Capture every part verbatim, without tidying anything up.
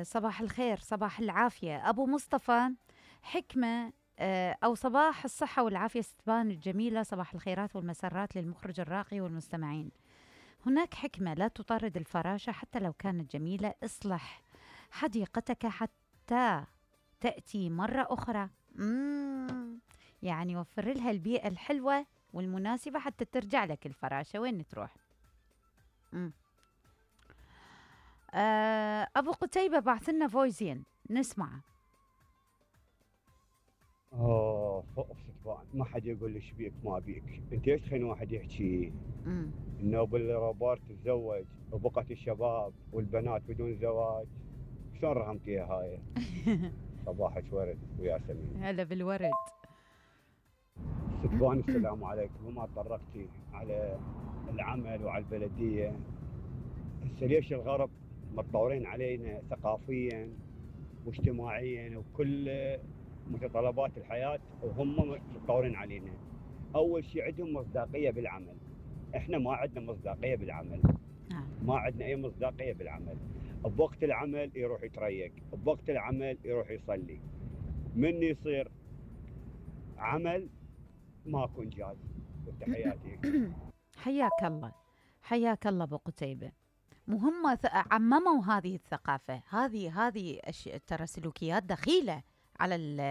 صباح الخير، صباح العافية أبو مصطفى. حكمة آه، أو صباح الصحة والعافية ستبان الجميلة، صباح الخيرات والمسرات للمخرج الراقي والمستمعين. هناك حكمة لا تطارد الفراشة حتى لو كانت جميلة. اصلح حديقتك حتى تأتي مرة أخرى. مم. يعني وفر لها البيئة الحلوة والمناسبة حتى ترجع لك الفراشة وين تروح. مم. آه، أبو قتيبة بعث لنا فويزين نسمع. اوه ستبان ما حد يقول لي بيك ما بيك، انت ايش تخلين واحد يحكي مم. انه بالروبورت تتزوج وبقت الشباب والبنات بدون زواج؟ شلون رحمتيها هاي؟ صباحك ورد وياسمين. هلا بالورد. ستبان السلام عليكم. وما طرقتي على العمل وعلى البلديه. هسه ليش الغرب متطورين علينا ثقافيا واجتماعيا وكل متطلبات الحياه وهم متطورين علينا؟ اول شيء عندهم مصداقيه بالعمل، احنا ما عندنا مصداقيه بالعمل. ما عندنا اي مصداقيه بالعمل. بوقت العمل يروح يتريق، بوقت العمل يروح يصلي. من يصير عمل ماكو انجاز. وتحياتي. حياك الله، حياك الله ابو قتيبة. مهمة عمموا هذه الثقافة، هذه هذه ترى سلوكيات دخيلة على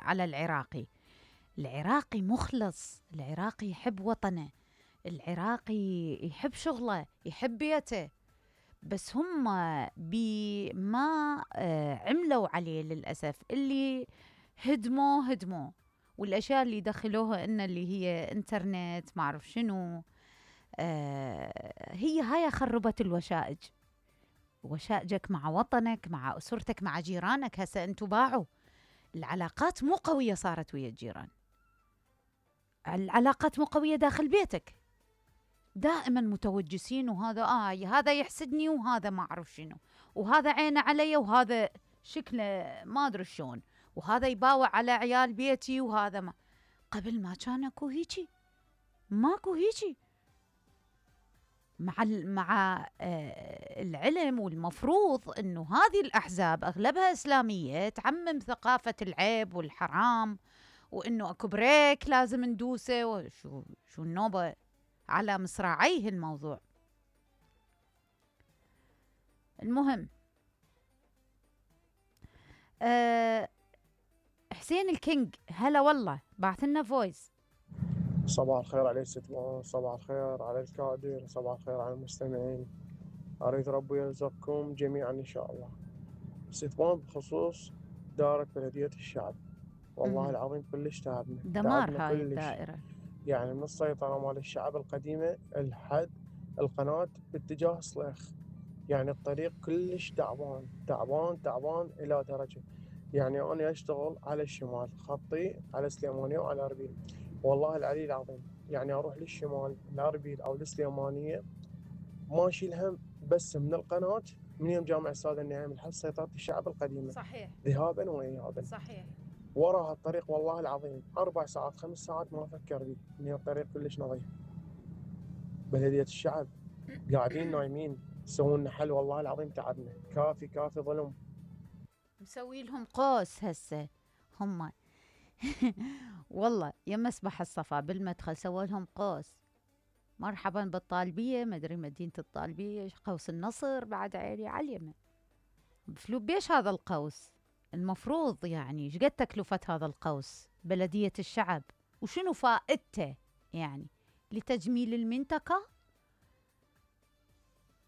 على العراقي. العراقي مخلص، العراقي يحب وطنه، العراقي يحب شغله، يحب بيته. بس هم بما عملوا عليه للأسف، اللي هدموه هدموه، والأشياء اللي دخلوها إن اللي هي إنترنت ما أعرف شنو، آه هي هاي خربت الوشائج. وشائجك مع وطنك، مع أسرتك، مع جيرانك. هسا أنتوا باعوا العلاقات، مو قوية صارت ويا الجيران، العلاقات مو قوية داخل بيتك، دائما متوجسين، وهذا آه هذا يحسدني وهذا ما أعرف شنو، وهذا عينه علي وهذا شكله ما أدري شلون، وهذا يباوع على عيال بيتي وهذا ما. قبل ما كان اكو هيجي، ماكو هيجي. مع مع آه العلم، والمفروض انه هذه الاحزاب اغلبها اسلاميه تعمم ثقافه العيب والحرام، وانه اكو بريك لازم ندوسه، وشو شو النوبه على مصراعيه الموضوع. المهم أه حسين الكينج، هلا والله، بعث لنا فويس. صباح الخير عليك ست مان، صباح الخير على الكادر، صباح الخير على المستمعين. أريد ربي يرزقكم جميعا إن شاء الله. ست مان بخصوص دائرة بلدية الشعب، والله مم. العظيم كلش تعبنا دمار تعبنا هاي كلش. الدائرة، يعني من السيطرة مال الشعب القديمة الحد القناة باتجاه صليخ، يعني الطريق كلش تعبان تعبان تعبان إلى درجة. يعني أنا أشتغل على الشمال، خطي على سليمانية وعلى أربيل، والله العلي العظيم يعني أروح للشمال لأربيل أو لسليمانية ماشي الهم، بس من القناة من يوم جامع السادة النعيم لحد سيطرة الشعب القديمة، صحيح ذهابا وإيابا. صحيح. وراها الطريق والله العظيم أربع ساعات خمس ساعات ما أفكر بيه، من الطريق كلش نظيف. بلدية الشعب قاعدين نايمين، يسوون لنا حل، والله العظيم تعبنا، كافي كافي ظلم. مسوي لهم قوس هسه هم والله يا مسبح الصفا بالمدخل سووا لهم قوس. مرحبا بالطالبية، مدري مدينة الطالبية، قوس النصر بعد عيني على اليمن. بفلو بيش هذا القوس؟ المفروض يعني ايش قد تكلفة هذا القوس؟ بلدية الشعب وشنو فائدته؟ يعني لتجميل المنطقة؟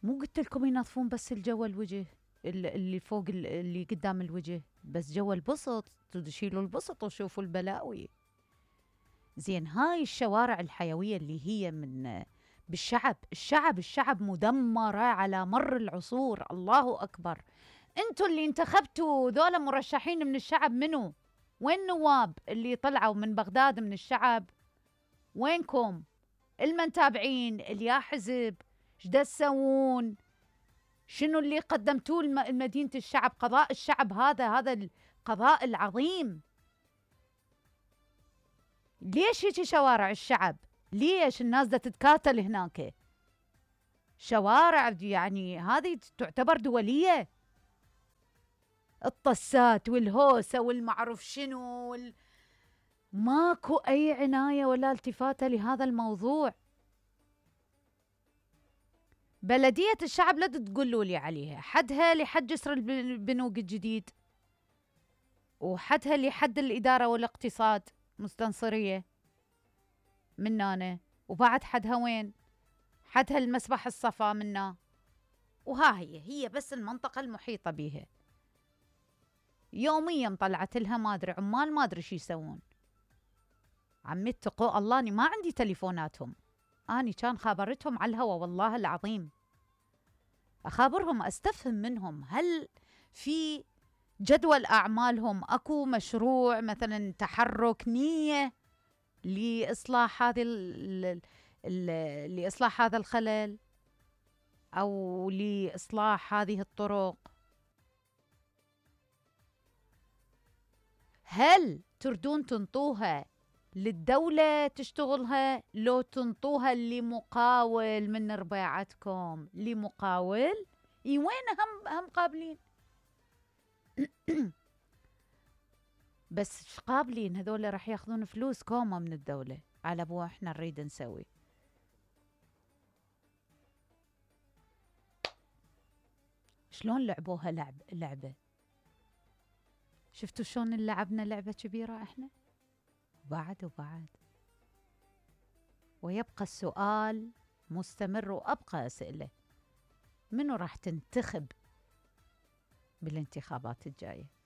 مو قلت لكم ينظفون بس الجو الوجه اللي فوق اللي قدام الوجه، بس جو البسط تشيلوا البسط وشوفوا البلاوي. زين هاي الشوارع الحيوية اللي هي من بالشعب، الشعب الشعب مدمرة على مر العصور. الله أكبر. انتوا اللي انتخبتوا ذولا مرشحين من الشعب، منو؟ وين النواب اللي طلعوا من بغداد من الشعب؟ وينكم المنتابعين اليا حزب؟ ايش تسوون؟ شنو اللي قدمتوه لمدينة الشعب؟ قضاء الشعب هذا هذا القضاء العظيم. ليش هيك شوارع الشعب؟ ليش الناس دا تتكاتل هناك؟ شوارع يعني هذه تعتبر دولية. الطسات والهوسة والمعروف شنو وال... ماكو أي عناية ولا التفاتة لهذا الموضوع. بلدية الشعب لا تقولوا لي عليها، حدها لحد جسر البنوك الجديد، وحدها لحد الإدارة والاقتصاد مستنصرية منانا، وبعد حدها وين؟ حدها المسبح الصفا منا، وها هي هي بس المنطقة المحيطة بيها. يوميا طلعت لها ما أدري عمال ما أدري شو يسوون. عمي اتقوا الله، أني ما عندي تليفوناتهم، أني كان خابرتهم على الهوا والله العظيم، أخابرهم أستفهم منهم هل في جدول أعمالهم أكو مشروع مثلا تحرك نية لإصلاح هذه ال ال لإصلاح هذا الخلل أو لإصلاح هذه الطرق. هل تردون تنطوها للدولة تشتغلها لو تنطوها لمقاول من رباعتكم؟ لمقاول؟ اي وين هم هم قابلين بس قابلين هذول راح ياخذون فلوس كومة من الدولة على ابو احنا نريد نسوي. شلون لعبوها لعب لعبة؟ شفتوا شلون لعبنا لعبة كبيرة احنا؟ بعد وبعد. ويبقى السؤال مستمر وأبقى أسئلة، منو راح تنتخب بالانتخابات الجاية؟